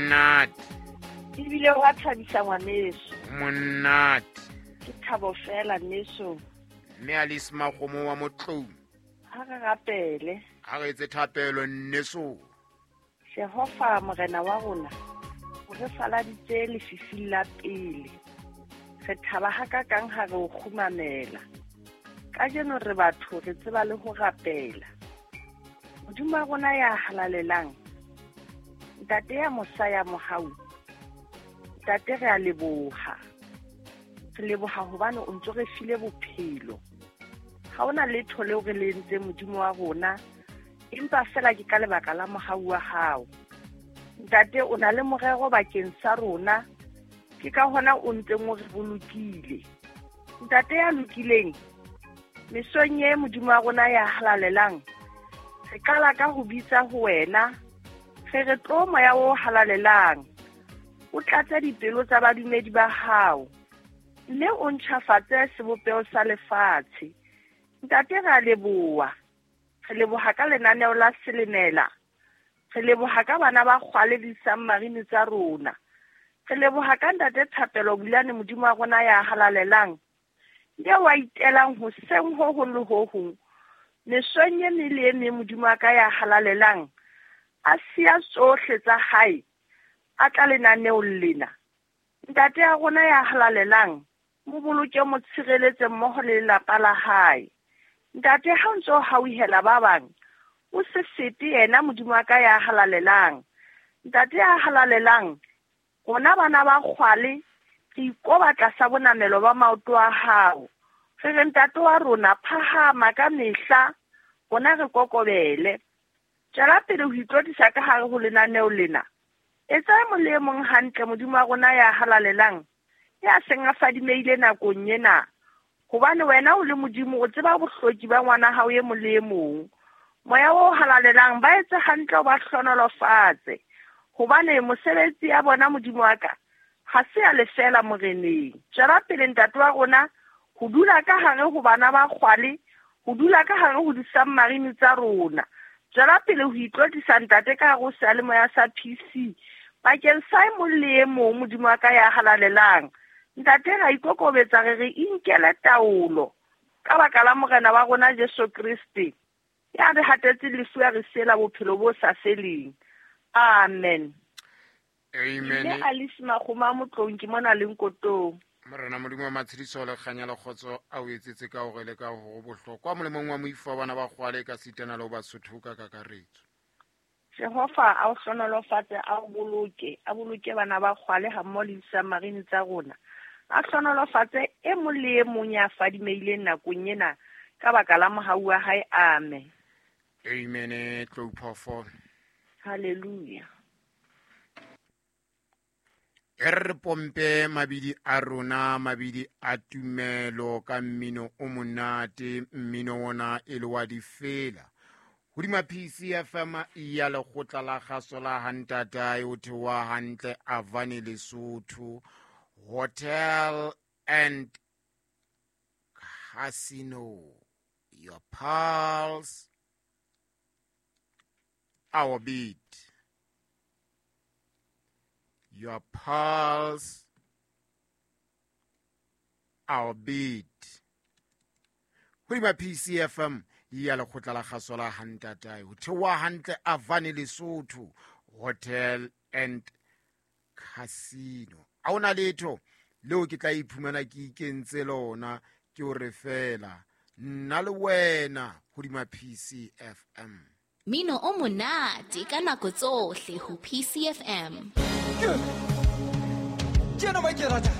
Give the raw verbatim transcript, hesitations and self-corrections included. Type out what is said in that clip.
Monate. Ebile wa thabisa ngwaneso. Monate. Ke thabo fela nneso. Mme Alice Makgomo wa Motloung. Ha re rapele. Ha re etse thapelo nneso. Jehova morena wa rona, o re faladitse lefifing la pele. Re thaba hakakang ha re o kgumamela. Kajeno re batho re tseba le ho rapela. Modimo wa rona ya halalelang, Ntate ya mosa ya mohau, Ntate re a leboha. Re leboha hobane o ntso re file bophelo. Ha hona letho leo re le entseng Modimo wa rona, empa fela ke ka lebaka la mohau wa hao. Ntate o na le morero bakeng sa rona, ke ka hona o ntseng o re bolokile. Ntate ya lokileng, mesong e Modimo wa rona ya halalelang, re qala ka ho bitsa ho wena, re re tlo moya o halalelang, o tlatse dipelo tsa badumedi ba hao, mme o ntjhafatse sebopeho sa lefatshe. Ntate re a leboha. Re leboha ka lenaneo la Selemela. Re leboha ka bana ba kgwale le di-submarine tsa rona. Re leboha ka Ntate Thapelo Bulane Modimo wa rona ya halalelang, eo a itelang hoseng ho hong le ho hong, mesong e meng le e meng Modimo wa ka ya halalelang, a siya tsohle tsa hae, a tla lenaneong lena. Ntate ya rona ya halalelang, mo boloke, mo tshireletse mmoho le lelapa la hae. Ntate ha o ntso hauhela ba bang, o se fete yena Modimo wa ka ya halalelang. Ntate ya halalelang, rona bana ba kgwale re ikoba tlasa bonamelo ba maoto a hao. Re re ntate wa rona phahama ka mehla, rona re kokobele. Tswela pele ho itlotlisa ka hare ho lenaneo lena. Etsa e mong le e mong hantle Modimo wa rona ya halalelang, ya seng a fadimeile nakong ena. Hobane wena o le Modimo o tseba bohloki ba ngwana hao e mong le e mong. Moya o halalelang ba etse hantle o ba hlohonolofatse. Hobane mosebetsi ya bona Modimo wa ka ha se ya lefela moreneng. Tswela pele ntate wa rona ho dula ka hare ho bana ba kgwale, ho dula ka hare ho di-submarine tsa rona. Tswela pele ho itlotlisa ntate ka hare ho seyalemoya sa P C bakeng sa e mong le e mong Modimo wa ka ya halalelang. Ntate ra ikokobetsa re re inkele taolo ka baka la morena wa rona Jesu Kriste, ya re hatetse lefu ya re siela bophelo bo sa feleng. Amen. Amen. Mme Alice Makgomo Motloung ke mona le Nkotong. Morena Modimo wa matshediso le kganya le kgotso a o etsetse ka hore le ka hore bohlokwa molemong wa moifo wa bana ba kgwale ka sitana le ho Basotho ka kakaretso. Jehova a o hlohonolofatse, a o boloke, a boloke bana ba kgwale ha mmoho le di-submarine tsa rona. A hlohonolofatse e mong le e mong ya fadimeileng nakong ena ka baka la mohau wa hae. Amen. Amen. Tlou phofo. Hallelujah. E re pompe mabidi a rona, mabidi a tumelo ka mmino o monate, mmino ona e le wa difela. Hodima P C F M ya lekgotla la kgaso la Hantatae o theoha hantle Avane Lesotho Hotel and Casino. Your pulse, our beat. Your pulse, our beat. Hodima P C F M ya lekgotla la kgaso la Hantatae ho theoha hantle Avane Lesotho Hotel and Casino. Ha hona letho leo ke tla iphumana ke ikentse lona, ke o re fela nna le wena hodima P C F M. Mino o monate ka nako tsohle ho P C F M. Ke ena ba ke rata.